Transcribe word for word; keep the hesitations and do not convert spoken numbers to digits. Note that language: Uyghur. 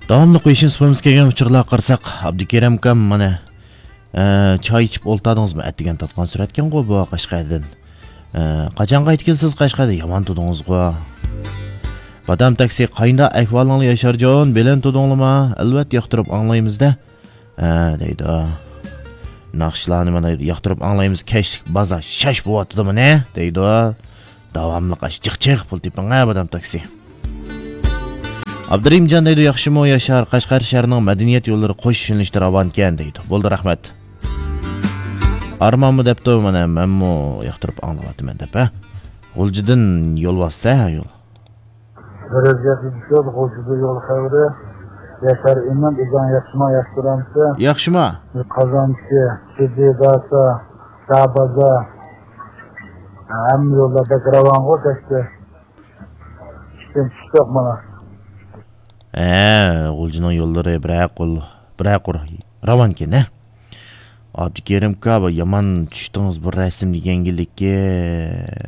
داۋاملىق بېشىمىز سۇپىمىز كەلگەن ئۇچۇرلارغا قارىساق، ئابدۇكېرىم ئاكام، مانا، ئە، چاي ئىچىپ ئولتۇردىڭىزمۇ؟ ئەتىگەن تارتقان سۈرەتكەنغۇ بۇ قەشقەردىن. ئە، قاچان قايتىپ كېلىسىز قەشقەردىن؟ يامان تۇردىڭىزغۇ. بادام تاكسى، قاينىدا ئەھۋالىڭلار ياشارجان؟ بىلەن تۇردۇڭلىما؟ ئەلۋەتتە ياقتۇرۇپ ئاڭلايمىز-دە. ھە، دەيدۇ. ناخشىلارنى مانا ياقتۇرۇپ ئاڭلايمىز، كەچلىك بازار شاش بوۋاتىدۇ مانا، دەيدۇ. داۋاملىق ئاش جىق جىق پۇل تېپىڭ ھە، بادام تاكسى. ئابدۇرېھىمجان دەيدۇ، ياخشىمۇ ياشار، قەشقەر شەھىرىنىڭ مەدەنىيەت يوللىرى قوش يۆنىلىشتە راۋانكەن دەيدۇ. بولدى، رەھمەت. ئارمانمۇ دەپتۇ، مانا مەنمۇ ياقتۇرۇپ ئاڭلاۋاتىمەن دەپ ھە. غۇلجىدىن يول باسسا يول. بىر ئۆزگەرتىش يوق، غۇلجىدا يول خەۋىرى. ياشار ئىمىن، ئىزاڭ ياخشىما، ياخشى تۇرامسىز؟ ياخشىما؟ قازانچى، سىدى، داسا، شاھ بازار. ھەممە يوللار بەك راۋانغۇ كەچتى. ئىشتىن چۈشتۇق مانا. ھە، غۇلجىنىڭ يوللىرى بىرەر قۇر، بىرەر قۇر راۋانكەن ھە. ئابدۇكېرىم ئاكا، بۇ يامان چۈشتىڭىز بۇ رەسىم دېگەنگىلىككە.